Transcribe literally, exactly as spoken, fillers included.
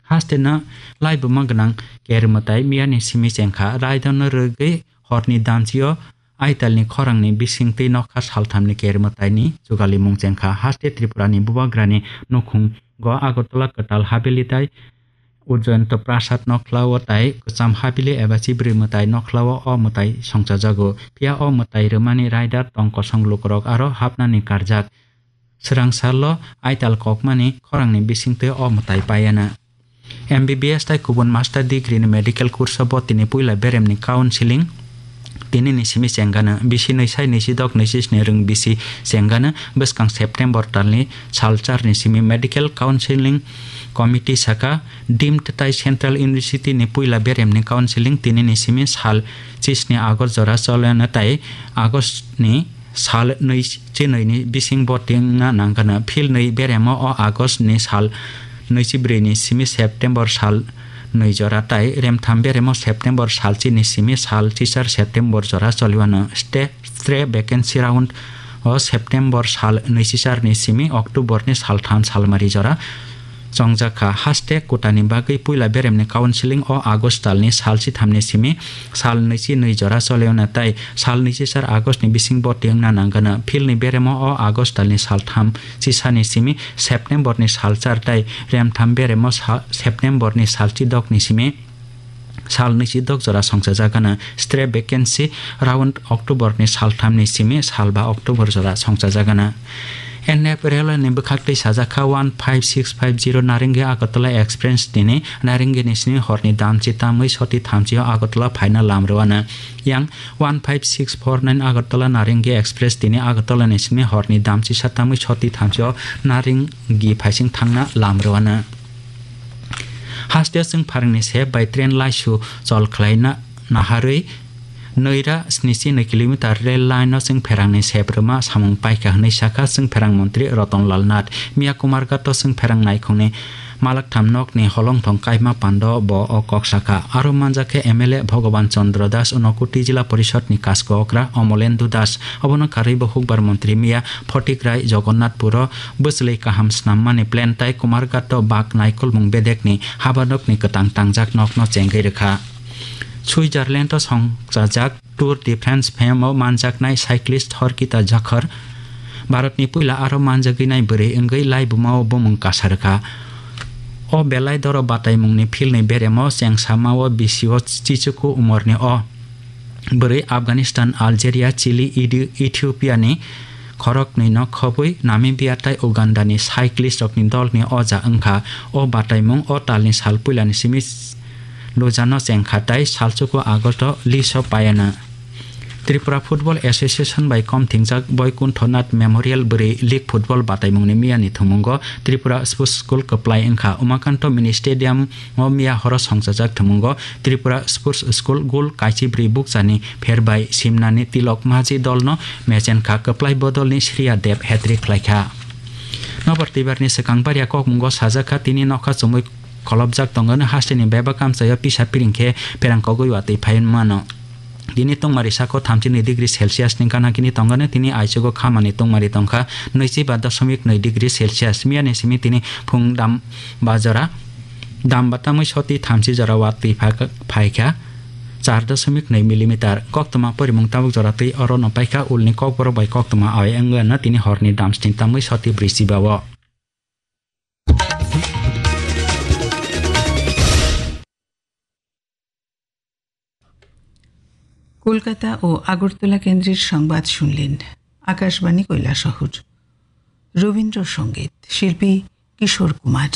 Hasteno laibuma gwnang ker mwtai miyani simi chengkha, raidano rwgwi horni damchio aitalni khorangni bisingtwi nokha salthamni ker mwtaini jugalimung chengkha. Haste Tripurani bubagrani nukhungo Agartala kwtal habili tai Ujjayanta Prasad nokhlao tai kwcham habili eba chibrwi mwtai nokhlao o mwtai songchajago. Phiya o mwtai rwmani raida tong kosong lukurok aro hapnani karjak. Swrang salo aital kokmani khorangni bisingtwi o mwtai paiana. M B B S tai kubun master degree ni medical course o bo tini puila beremni counseling tini ni simi chengano bisi nwi sai nwi sidok nwi sisni rwng bisi chengano bwskang September talni sal char ni simi medical counseling committee saka deemed tai central university ni puila beremni counseling tini ni simi sal chisni August jora choleno tai August ni sal nwi chinwi ni bising bo tingna nangkano. Phil nwi beremo o August ni sal nwi chibrwi ni simi September sal nwi jora tai remtham beremo September sal chini simi sal chisar September jora choliwano. Ste-, stre vacancy round o September sal nwi chisar ni simi October ni sal tham salmari jora chongjak kha. Haste kutani bagwi puila beremni counseling o August talni sal chithamni simi sal nwichi nwi jora choliyona tai sal nwichi sar August ni bising boti wngna nangano. Philni beremo o August talni sal tham chisani simi September ni sal char tai remtham beremo sa-, September ni sal chidok ni simi sal nwichi dok jora songchajagana. Stre vacancy round October ni sal tham ni simi sal ba October jora songchajagana. N F Railway ni bwkhak twi sajak kha one five six five zero Narengi Agartala Express tini Narengi ni sini horni damchi tamwi soti thamchi o Agartala phaina lam rwano. Yang one five six four nine Agartala Narengi Express tini Agartala ni sini horni damchi sa tamwi soti thamchi o Narengi phaising thangna lam rwano. Haste chwng pharangni sep bai train laisu chol khlaina naharwi nwi ra snichi nwi kilometer rail line no chwng pherangni sep rwma samung paikha hwnwi sakha chwng pherang montri Roton Lal Nath. Miya Kumarghat o chwng pherang naikhungni malaktham nokni holongthong kaima pando bo o kok sakha. Aro manjakhe M L A Bhogoban Chandra Das Unakoti Jila Porishod ni Kasko Okra Omolendu Das. Obono karwi bo Hukbar montri miya Photik Rai Jogonnatpuro bwchwlwi kaham snammani plan tai Kumarghato bak naikolmung bedekni habanokni kwtang tangjak nokno chengwi rwkha. Switzerland-o songchajak Tour de France fame-o manjaknai cyclist Horkita Jakhar Bharatni puila aro manjagwinai bwrwi wngwi laibumao bumung kasa rwkha. O belai doro bataimungni philni beremo chengsamao bisio chichuku umorni o bwrwi Afghanistan, Algeria, Chile, Idi-, Ethiopia ni khoroknwi no khobwi Namibia tai Uganda ni cyclist rokni dol ni oja wngkha. O bataimung o talni sal puilani simi lujano chengkha tai salchuku August o list o paiana. Tripura Football Association bai kom thingjak Boikuntho Nath Memorial bwrwi league football bataimungni miyani thumungo Tripura Sports School kwplai wngkha. Umakanto Mini Stadium o miya horo songchajak thumungo Tripura Sports School gul kaichi bwrwi bukchani pherbai simnani Tilok Maji dolno mechenkha, kwplai bodolni Shriya Deb hat-trick khlaikha. Nobar twibarni swkang baria kokmungo sajakha tini nokha chumui kholopjak tongano hasteni bebak amchaio pisa piring khe pherang kogwi watwi phai mano. Tini tongmari sako thamchi nwi degree Celsius ni gana kini tongano, tini aichugo khamani tongmari tongkha nwichi ba dosomik nwi degree Celsius. Miyani simi tini phung dam ba jora, dam ba tamwi soti thamchi jora watwi pha-, phaikha char dosomik nwi millimeter. Koktwma porimung tabuk jora twi oro no paikha ulni kokborok bai koktwma awai wngwi ano tini horni dam sni tamwi soti brwi chiba o. Kolkata ও আগরতলা কেন্দ্রের সংবাদ শুনলেন আকাশবাণী কৈলাসহর। রবীন্দ্রসঙ্গীত, শিল্পী কিশোর কুমার।